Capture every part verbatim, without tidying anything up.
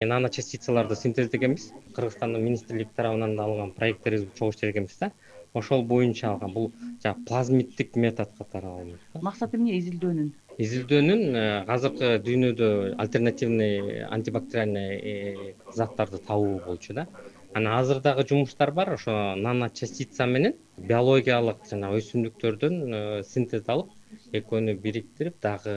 Нано частицаларды синтездегенбиз. Кыргызстандын министрлик тарабынан алынган проекттерибизди чогуу иштегенбиз да. Ошол боюнча алган бул жана плазмиттик метод катары алынат. Максаты эмне изилдөөнүн? Изилдөөнүн азыркы дүйнөдө альтернативный антибактериальный заттарды табуу болчу да. Анан азыр дагы жумуштар бар, ошо нано частица менен биологиялык жана өсүмдүктөрдөн синтез алып, экөөнү бириктирип дагы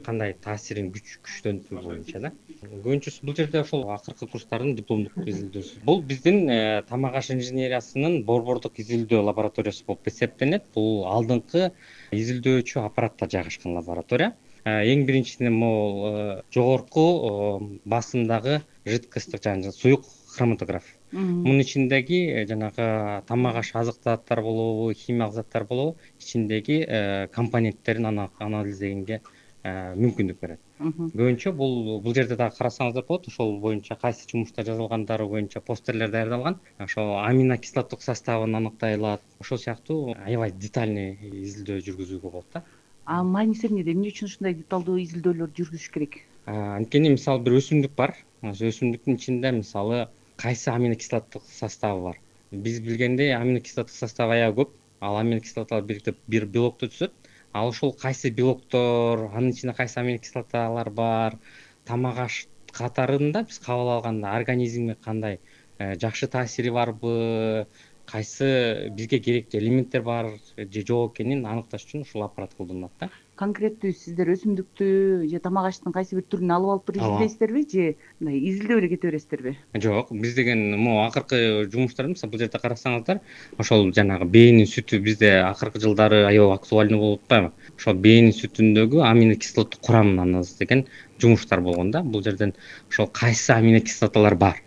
кандай таасирин күч күчтөнтүү боюнча да. Көбүнчөсү бул жерде ошол акыркы курстардын дипломдук изилдөөсү. Бул биздин тамак аш инженериясынын борбордук изилдөө лабораториясы болуп эсептелет. Бул алдыңкы изилдөөчү аппаратта жайгашкан лаборатория. Эң биринчиден могул жогорку басымдагы жидкосттук жана суюк хроматограф. Мунун ичиндеги жанагы тамак аш азык заттар болобу, химиялык заттар болобу, ичиндеги компоненттерин анализдегенге мүмкүндүк берет. Көбүнчө бул бул жерде дагы карасаңыздар болот. Ошол боюнча кайсы жумушта жазылгандары боюнча посттерлер даярдалган. Ошол аминокислоттук составын аныктай алат. Ошол сыяктуу аябай детальный изилдөө жүргүзүүгө болот да. А мааниси эмнеде? Эмне үчүн ушундай деталдуу изилдөөлөрдү жүргүзүш керек? Анткени мисалы бир өсүмдүк бар. Өсүмдүктүн ичинде мисалы кайсы аминокислоттук составы бар. Биз билгендей аминокислоттук составы аябай көп. Ал аминокислоталар бириктеп бир белокту түзөт. Ал ошол кайсы белоктор, анын ичинде кайсы аминокислоталар бар, тамак аш катарында биз кабыл алганда организмге кандай жакшы таасири барбы, кайсы бизге керектүү элементтер бар же жок экенин аныкташ үчүн ушул аппарат колдонулат да. Конкреттүү сиздер өсүмдүктү же тамак аштын кайсы бир түрүн алып алып туруп изилдейсиздерби же мындай изилдөө эле кете бересиздерби? Жок, биз деген могу акыркы жумуштар мисалы бул жерде карасаңыздар, ошол жанагы бээнин сүтү бизде акыркы жылдары аябай актуальный болуп атпайбы? Ошол бээнин сүтүндөгү аминокислоттук курамын анализдеген жумуштар болгон да. Бул жерден ошол кайсы аминокислоталар бар.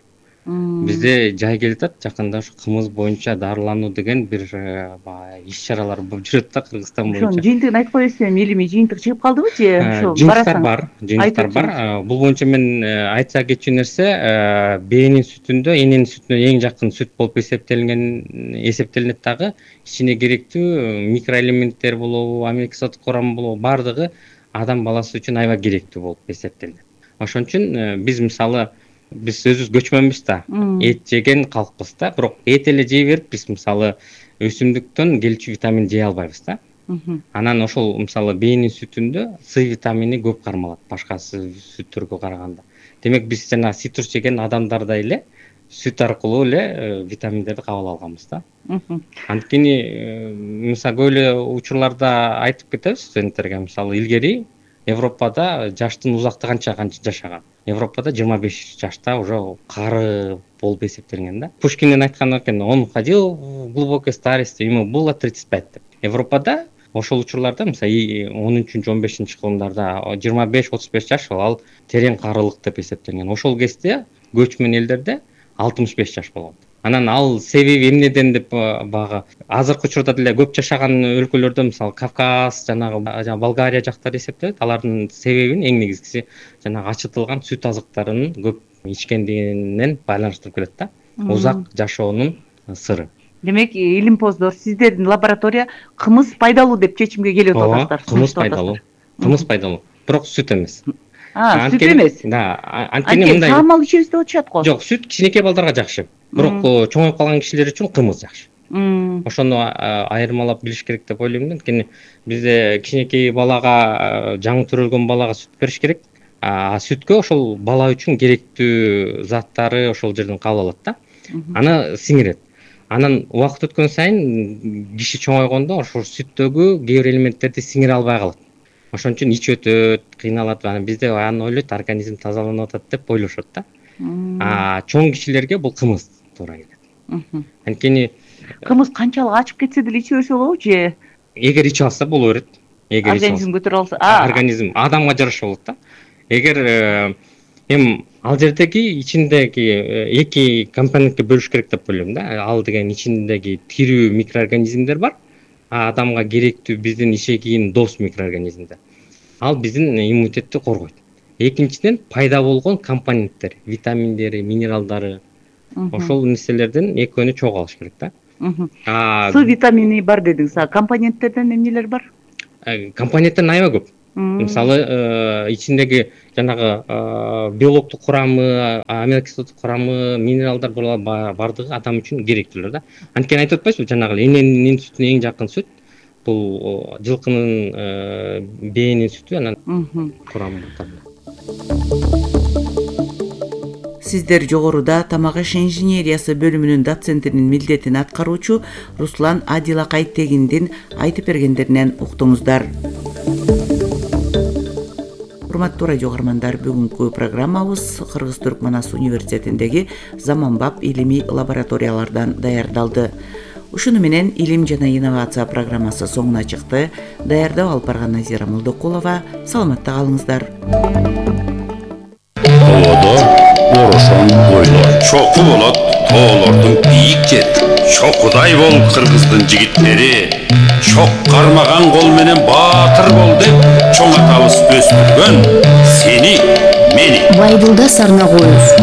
Бизде жай келип атат, жакында ошо кымыз боюнча дарылануу деген бир иш чаралар болуп жүрөт да Кыргызстан боюнча. Ошонун жыйынтыгын айтып коесузбу, эми элими жыйынтык чыгып калдыбы же ошо жыйынтыктар бар, жыйынтыктар бар. Бул боюнча мен айтса кетчү нерсе, бээнин сүтүндө эненин сүтүнө эң жакын сүт болуп эсептелген эсептелинет дагы ичине керектүү микроэлементтер болобу, аминокислоттук курам болобу, бардыгы адам баласы үчүн аябай керектүү болуп эсептелинет. Ошон үчүн биз мисалы биз өзүбүз көчмөнбүз да, эт жеген калкпыз да, бирок эт эле жей берип биз мисалы өсүмдүктөн келчү витамин жей албайбыз да. Анан ошол мисалы бээнин сүтүндө С витамини көп кармалат башка сүттөргө караганда. Демек биз жана цитрус жеген адамдардай эле сүт аркылуу эле витаминдерди кабыл алганбыз да. Анткени мисалы көп эле учурларда айтып кетебиз студенттерге, мисалы илгери Европада жаштын узактыгы канча канча жашаган. Европада жыйырма беш жашта уже кары болуп эсептелген да. Пушкиндин айтканы экен, он ходил в глубокой старости, ему было тридцать пять деп. Европада ошол учурларда мисалы он үчүнчү он бешинчи кылымдарда жыйырма беш отуз беш жаш ал терең карылык деп эсептелген. Ошол кезде көчмөн элдерде алтымыш беш жаш болгон. Анан ал себеби эмнеден деп багы азыркы учурда деле көп жашаган өлкөлөрдө мисалы Кавказ, жанагы Болгария жактары эсептелет. Алардын себебин эң негизгиси жанагы ачытылган сүт азыктарын көп ичкендигинен байланыштырып келет да. Узак жашоонун сыры. Демек, илимпоздор, сиздердин лаборатория кымыз пайдалуу деп чечимге келип атасыздар. Кымыз пайдалуу. Кымыз пайдалуу. Бирок сүт эмес. А, сүт эмес. Да, анткени мындай. Таамал ичебиз деп атышат го. Жок, сүт кичинекей балдарга жакшы. Бирок чоңоюп калган кишилер үчүн кымыз жакшы. Ошону айырмалап билиш керек деп ойлойм да. Анткени бизде кичинекей балага, жаңы төрөлгөн балага сүт бериш керек. А сүткө ошол бала үчүн керектүү заттары ошол жерден кабыл алат да. Аны сиңирет. Анан убакыт өткөн сайын киши чоңойгондо ошол сүттөгү кээ бир элементтерди сиңире албай калат. Ошон үчүн ичип өтөт, кыйналат. Анан бизде аны ойлойт, организм тазаланып атат деп ойлошот да. А чоң кишилерге бул кымыз туура келет. Анткени кымыз канчалык ачып кетсе деле иче берсе болобу же? Эгер ичип алса боло берет. Эгер организм көтөрө алса, организм адамга жараша болот да. Эгер эми ал жердеги ичиндеги эки компонентке бөлүш керек деп ойлойм да. Ал деген ичиндеги тирүү микроорганизмдер бар. А адамга керектүү биздин ишегин дос микроорганизмдер. Ал биздин иммунитетти коргойт. Экинчиден пайда болгон компоненттер, витаминдери, минералдары. Ошол нерселерден экөөнү чогуу алыш керек да. С витамини бар дедиңиз. А компоненттерден эмнелер бар? Компоненттер аябай көп. Мисалы ичиндеги жанагы биологдук курамы, аминокислота курамы, минералдар бардыгы адам үчүн керектүүлөр да. Анткени айтып атпайсызбы, жанагы эненин сүтүнө эң жакын сүт бул жылкынын бээнин сүтү, анан курамы. Сиздер жогоруда тамак аш инженериясы бөлүмүнүн доцентинин милдетин аткаруучу Руслан Адилакай Тегиндин айтып бергендеринен уктуңуздар. Урматтуу радио угармандар, бүгүнкү программабыз Кыргыз-Түркман Ас университетиндеги заманбап илимий лабораториялардан даярдалды. Ушуну менен Илим жана инновация программасы соңуна чыкты. Даярдап алып барган Назира Молдокулова. Саламатта калыңыздар. Тоодо орошон ойлор чоку болот, тоолордун бийик жери. Чокудай бол кыргыздын жигиттери, чок кармаган кол менен баатыр бол деп чоң атабыз өстүргөн сени, мени. Байдылда сарна коюз.